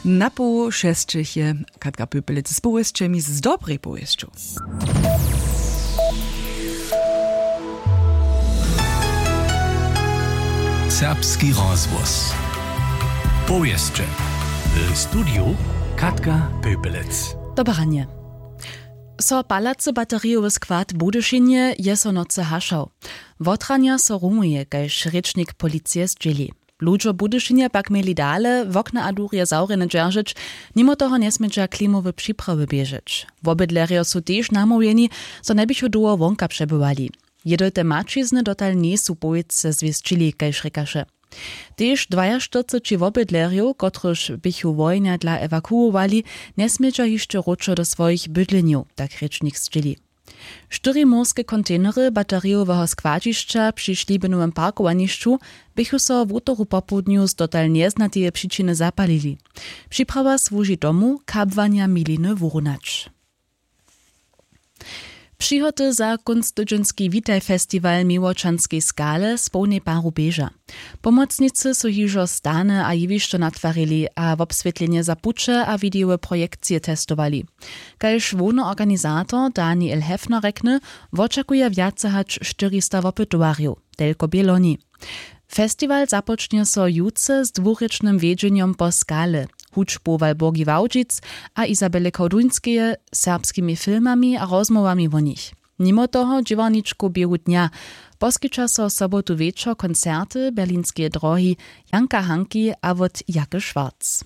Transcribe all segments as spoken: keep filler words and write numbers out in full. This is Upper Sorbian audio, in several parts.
Na poł šesćich je Katka Pöpelec z powěsćemi, z dobrej powěsću. Serbski rozhłos. Powěsće. W studiju Katka Pöpelec. Dobre ranje. So palacy baterijowy skład w Budyšinje je so nocy hašał. Wotranja so rumuje, kaž rěčnik policije zdźěli. Ludźo w Budyšinje pak měli dale wokna a durje zawrjene dźeržeć, nimo toho njesmědźa klimowe připrawy běžeć. Wobydlerjo su tež namołwjeni, zo njeběchu dołho wonka přebywali. Jědojte maćizny dotal njejsu powětře zwěsćili, kaž rěkaše. Tež dwajaštyrceći wobydlerjow, kotrychž běchu wojenja dla ewakuowali, njesmědźa hišće wróćo do swojich bydlenjow, tak rěčnik zdźěli. Štyri morske kontejnery baterijoweho składźišća při šlibinowym parkowanišću běchu so wutoru popołdnju z dotal njeznateje přičiny zapalili. Připrawa słuži tomu, kabłanja miliny wurunać. Přihoty za kónc tydźenski Witaj festiwal w Miłočanskej skale z połnej paru běža. Pomocnicy su hižo stany a jewišćo natwarili a wobswětlenje za puće a widejowe projekcije testowali. Kaž hłowny organizator Daniel Hefner rjekny, wočakuja wjace hač štyrista wopytowarjow, telko bě loni. Festiwal započnje so jutře z dwurěčnym wjedźenjom po skale, hudźbu Walburgi Wałdźic a Izabele Koduńskeje, serbskimi filmami a rozmołwami wo nich. Nimo toho dźěłarničkow běhu dnja poskića so sobotu wječor koncerty Berlinskeje drohi, Janka Hanki a wot Jake Schwarz.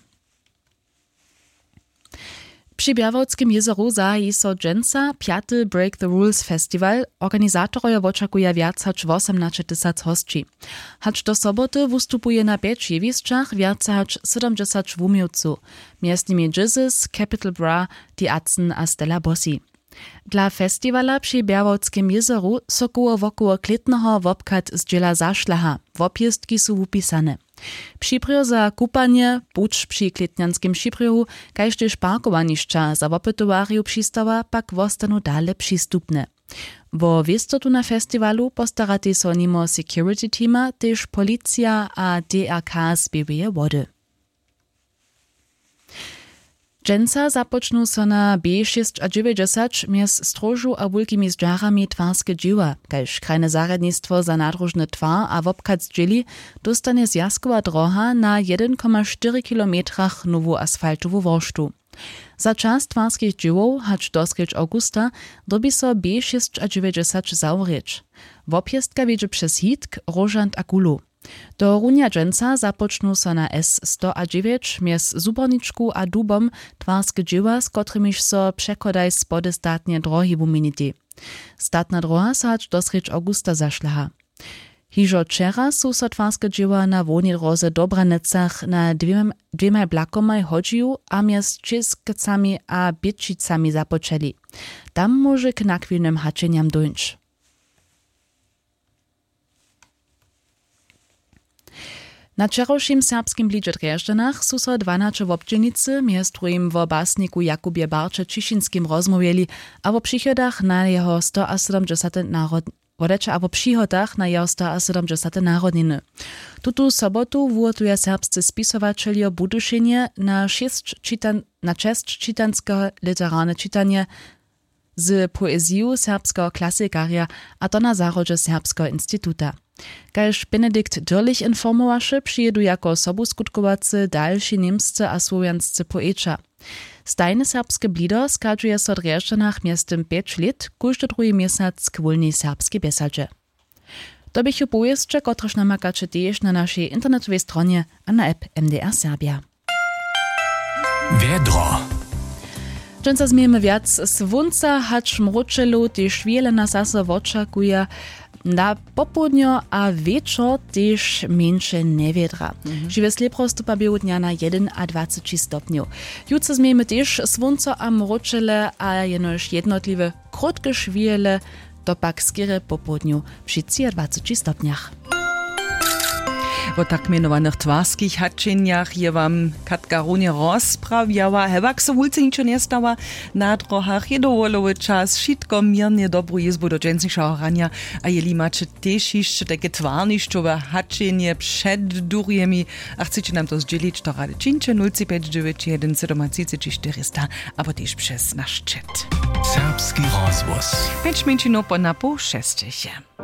Při Bjerwowskim jězoru zahaji so dźensa pjaty Break the Rules Festival. Organizatorojo wočakuja wjac hač wosomnaće tysac hosći. Hač do soboty wustupuje na pjeć jewišćach wjace hač sydomdźesać wuměłcow, mjez nimi Jizzes, Capital Bra, The Atzen a Stella Bossi. Dla festiwala při Bjerwowskim jězoru so koło wokoło klětneho wobchad zdźěla zašlaha. Wobjěztki su wupisane. Přibrjo za kupanje, puć při klětnjanskim přibrjohu, kaž tež parkowanišća za wopytowarjow přistawa pak wostanu dale přistupne. Wo wěstotu na festiwalu postaratej so nimo security teama tež policija a D R K z Běłeje Wody. Dźensa započnu so na B šěsćadźewjećdźesać mjez Stróžu a Wulkimi Zdźarami twarske dźěła, kaž krajne zarjadnistwo za nadróžny twar a wobchad zdźěli, dóstanje zwjazkowa droha na jedyn koma štyri kilometrach nowu asfaltowu worštu. Za čas twarskich dźěłow hač do srjedź awgusta dyrbi so B šěsćadźewjećdźesać zawrěć. Wobjěztka wjedźe přez Hitk, Róžant a Kulow. Tohorunja dźensa započnu so na S sto a dźewjeć mjez Zuborničku a Dubom twarske dźěła, z kotrimiž so přechodaj spodestatneje drohi wuměnitej. Statna droha so hač do srjedź awgusta zašlaha. Hižo wčera su so twarske dźěła na hłownej dróze w Dobranecach na dwěmaj, dwěmaj blakomaj hodźiju a mjez Čěskecami a Běćicami započeli. Tam móže k nachwilnym hačenjam dóńć. Na wčerawšim serbskim blidźe w Drježdźanach su so dwanaće wobdźělnicy mjez druhim wo basniku Jakubje Barće Ćišinskim rozmołwjeli a wo přichodach na jeho stoasydomdźesate narod-, wodajće, a wo přihotach na jeho stoasydomdźesate narodniny. Tutu sobotu wuhotuja serbscy spisowaćeljo w Budyšinje na šěsć čitan-, na česć čitanske literarne čitanje z poeziju serbskeho klasikarja, a to na zahrodźe Serbskeho instituta. Kaž Benedikt Dürlich informowaše, přijědu jako sobuskutkowacy dalši němscy a słowjanscy poeća. Stajne serbske blido schadźuje so w Drježdźanach mjeztym pjeć lět kóždy druhi měsac k wólnej serbskej bjesadźe. To běchu powěsće, kotrež namakaće tež na našej internetowej stronje a na app M D R Serbia. Wjedro. Dźensa změjemy wjac słónca hač mróčelow, tež wjele nas zaso wočakuje na popołdnjo a wječor tež mjeńše njewjedra. Žiwe slěpro stupa běhu dnja na jedynadwaceći stopnjow. Jutře změjemy tež słónco a mróčele a jenož jednotliwe krótke šwihele, to pak skerje popołdnju při třiadwaceći stopnjach. Po tak mjenowanych twarskich haćenjach je wam Katka runje rozprawjała, hewak so wulce ničo njestała. Na drohach je dowolowy čas, wšitko měrnje, dobru jězbu do dźensnišeho ranja. A jeli maće tež hišće tajke twarnišćowe haćenje před durjemi a chceće nam to zdźělić, to rady čińće: nul tři pjeć dźewjeć jedyn sydomatřiceći štyrista abo tež přez naš chat. Serbski rozhłos. Pjeć mjeńšinow po na poł šestych je.